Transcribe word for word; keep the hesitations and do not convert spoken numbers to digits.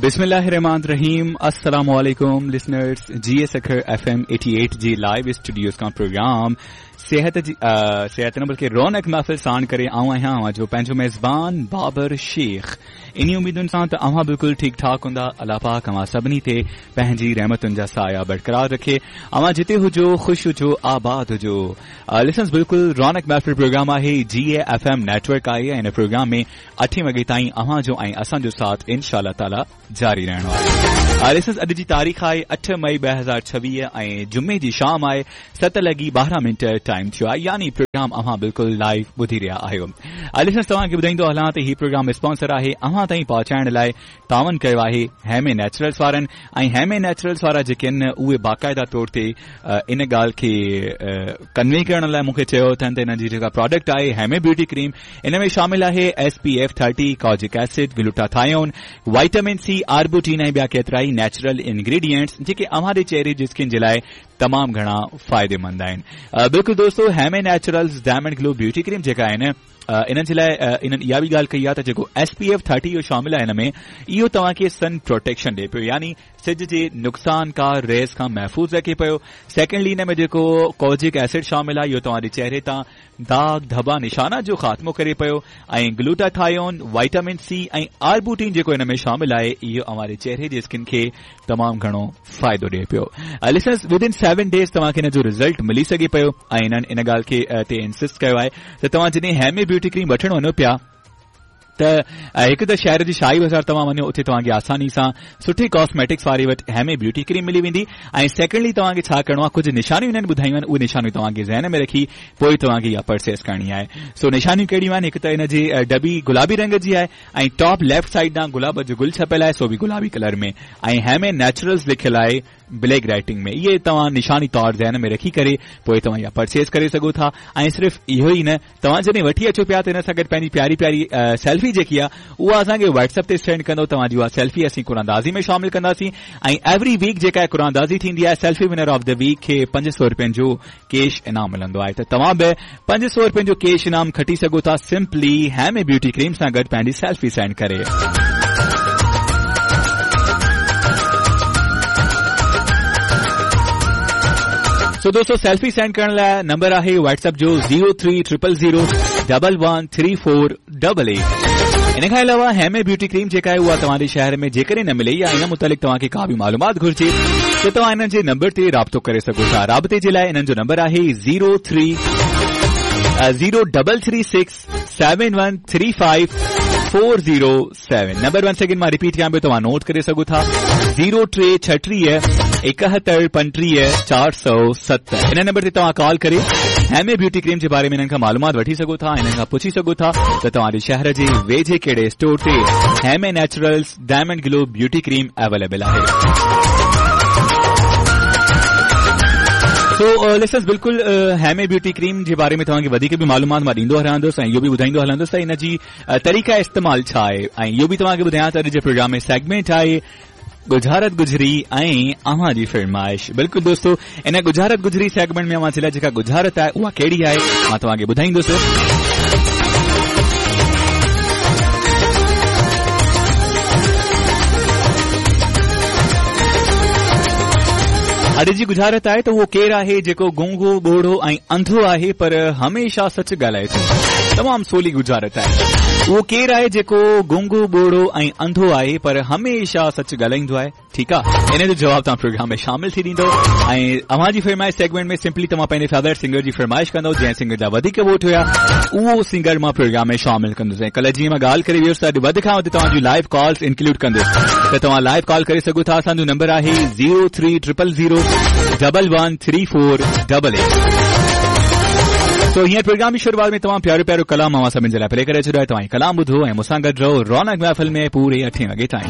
बिस्मिल्लाहिर्रहमानिर्रहीम। अस्सलाम वालेकुम listeners. G S Sukkur F M अठासी जी लाइव स्टूडियोज का प्रोग्राम सेहत जी सेहत न बल्कि रौनक महफ़िल साण करे आऊं आहियां अव्हां जो पंहिंजो मेज़बान बाबर शेख। इन्ही उम्मीदुनि सां त अव्हां बिल्कुलु ठीक ठाक हूंदा। अल्लाह पाक अव्हां सभिनी ते पंहिंजी रहमतुनि जा साया बरक़रार रखे। अव्हां जिते हुजो ख़ुशि हुजो आबाद हुजो। लिसनर्स बिल्कुलु रौनक महफ़िल प्रोग्राम आहे, जी ए एफ एम नेटवर्क आहे। इन प्रोग्राम में अठे वॻे ताईं अव्हां जो ऐं असांजो साथ इंशा ताला जारी रहणो आहे। लिसनर्स अॼु जी तारीख़ आहे अठ मई ॿ हज़ार छवीह ऐं जुमे जी शाम आहे, सत लॻी ॿारहं मिंट टाइम थियो आहे, यानी प्रोग्राम अव्हां बिल्कुलु लाइव ॿुधी रहिया आहियो। लिसनर्स तव्हांखे ॿुधाईंदो हलां त हीउ प्रोग्राम स्पॉन्सर आहे, अव्हां ताईं पहुचाइण लाइ तावन कयो आहे हेमे नेचुरल्स वारनि। ऐं हेमे नेचुरल्स वारा जेके आहिनि उहे बाक़ाइदा तौर ते इन ॻाल्हि खे कन्वे करण लाइ मूंखे चयो अथनि त हिननि जी जेका प्रोडक्ट आहे हेमे ब्यूटी क्रीम, इन में शामिल आहे S P F thirty, kojic acid, glutathione, vitamin C, arbutin ऐं ॿिया केतिरा ई नेचुरल इंग्रीडियंट्स जेके अव्हां जे चेहरे जी स्किन जे लाइ तमामु घणा फ़ाइदेमंद आहिनि। बिल्कुलु दोस्तो, Heme naturals diamond glow beauty cream जेका आहिनि इन्हनि जे लाइ इन्हनि इहा बि ॻाल्हि कई आहे त जेको एस पी एफ थर्टी इहो शामिल आहे हिन में, इहो तव्हांखे सन प्रोटेक्शन ॾिए पियो, यानी सिज जे नुक़सानकार रेज़ खां महफ़ूज़ रखे पियो। सेकेंडली हिन में जेको कोजिक एसिड शामिल आहे इहो तव्हांजे चेहरे तां दाग धबा निशाना जो ख़ात्मो करे पियो। ऐं ग्लूटाथायोन, वाइटामिन सी ऐं आर्बूटीन जेको हिन में शामिल आहे इहो अव्हांजे चेहरे जी स्किन खे तमामु घणो फ़ाइदो ॾिए पियो। लिसनर्स विदिन सेवन डेज़ तव्हांखे हिन जो रिज़ल्ट मिली सघे पियो। ऐं हिननि इन ॻाल्हि खे ते इंसिस्ट कयो आहे त तव्हां जॾहिं हेमे ब्यूटी क्रीम वठण वञो पिया त हिकु त शहर जी शाही बाज़ार तव्हां वञो, उते तव्हांखे आसानी सां सुठी कॉस्मेटिक्स वारे वटि हेमे ब्यूटी क्रीम मिली वेंदी। ऐं सेकेंडली तव्हांखे छा करिणो आहे, कुझु निशानियूं हिननि ॿुधायूं आहिनि, उहे निशानियूं तव्हांखे ज़हन में रखी पोइ तव्हांखे इहा परचेस करणी आहे। सो निशानियूं कहिड़ियूं आहिनि, हिकु त हिन जी डबी गुलाबी रंग जी आहे ऐं टॉप लेफ्ट साइड ॾांहुं गुलाब जो गुल छपियल आहे, सो बि गुलाबी कलर में, ऐं हेमे नेचुरल्स लिखियल आहे ब्लैक राइटिंग में। इहे तव्हां निशानी तौर ज़हन में रखी करे पोइ तव्हां इहा परचेस करे सघो था। ऐं सिर्फ़ु इहो ई न, तव्हां जॾहिं वठी अचो पिया त हिन सां गॾु पंहिंजी प्यारी प्यारी सेल्फी जेकी आहे उहा असांखे व्हाट्सएप ते सेंड कंदो, तव्हांजी उहा सेल्फी असीं कुरानदाज़ी में शामिल कंदासीं। ऐं एवरी वीक जेका कुरानदाज़ी थींदी आहे, selfie winner of the week खे पंज सौ रुपयनि जो कैश इनाम मिलंदो आहे। त तव्हां बि पंज सौ रुपयनि जो कैश इनाम खटी सघो था सिंपली हेमे ब्यूटी क्रीम सां गॾु पंहिंजी सेल्फी सेंड करे। सो दोस्तों, सेल्फी सेंड करण लाइ नंबर आहे व्हाट्सएप जो zero three triple zero double one three four double eight. इन खां अलावा हेमे ब्यूटी क्रीम जेका आहे उहा तव्हांजे शहर में जेकॾहिं न मिले या इन मुतालिक़ तव्हांखे का बि मालूमात घुरिजे त तव्हां इन्हनि जे नंबर ते राब्तो करे सघो था। राब्ते जे लाइ इन्हनि जो नंबर आहे zero three zero double three six seven one three five four zero seven. Number one second मां रिपीट कयां पियो, तव्हां नोट करे सघो था। ज़ीरो टे छटीह एकहतरि पंटीह चारि सौ सतरि। इन नंबर ते तव्हां कॉल करे हेमे ब्यूटी क्रीम जे बारे में इन्हनि खां मालूमात वठी सघो था, इन्हनि खां पुछी सघो था त तव्हांजे शहर जे वेझे कहिड़े स्टोर ते Heme naturals diamond glow beauty cream available आहे। सो लिसनर्स बिल्कुलु हेमे ब्यूटी क्रीम जे बारे में तव्हांखे वधीक बि मालूमात मां ॾींदो रहंदुसि ऐं इहो बि ॿुधाईंदो हलंदुसि त इन जी तरीक़ा इस्तेमाल छा आहे। ऐं इहो बि तव्हांखे ॿुधायां त अॼु जे प्रोग्राम में सेगमेंट आहे गुजारत गुजरी ऐं अव्हां जी फरमाइश। बिल्कुलु दोस्तो, इन गुजारत गुजरी सेगमेंट में अव्हां जे लाइ जेका गुजारत आहे उहा कहिड़ी आहे मां तव्हांखे ॿुधाईंदुसि। अॼु जी गुजारत आहे त उहो केरु आहे जेको गूंगो ॿोड़ो ऐं अंधो आहे पर हमेशा सच ॻाल्हाए थो। तमामु सोली गुजारत आहे। उहो केरु आहे जेको गूंगो ॿोड़ो ऐं अंधो आहे पर हमेशा सच ॻाल्हाईंदो आहे। ठीकु आहे, इन जो जवाबु तव्हां प्रोग्राम में शामिल थी ॾींदो। ऐं अव्हां जी फरमाइश सेगमेंट में सिंपली तव्हां पंहिंजे फेवरेट सिंगर जी फरमाइश कंदो, जंहिं सिंगर जा वधीक वोट हुया उहो सिंगर मां प्रोग्राम में शामिल कंदुसि। ऐं कल्ह जीअं मां ॻाल्हि करे वियुसि त अॼु वधि खां वधि तव्हांजूं लाइव कॉल्स इंक्लूड कंदुसि, त तव्हां लाइव कॉल करे सघो था। असांजो नंबर आहे zero three triple zero double one three four double eight. तो हींअर प्रोग्राम जी शुरुआत में तमामु प्यारो प्यारो कलाम अव्हां सभिनी जे लाइ प्ले करे छॾियो आहे। तव्हां कलाम ॿुधो ऐं मूंसां गॾु रहो रौनक महफ़िल में पूरे अठे वॻे ताईं।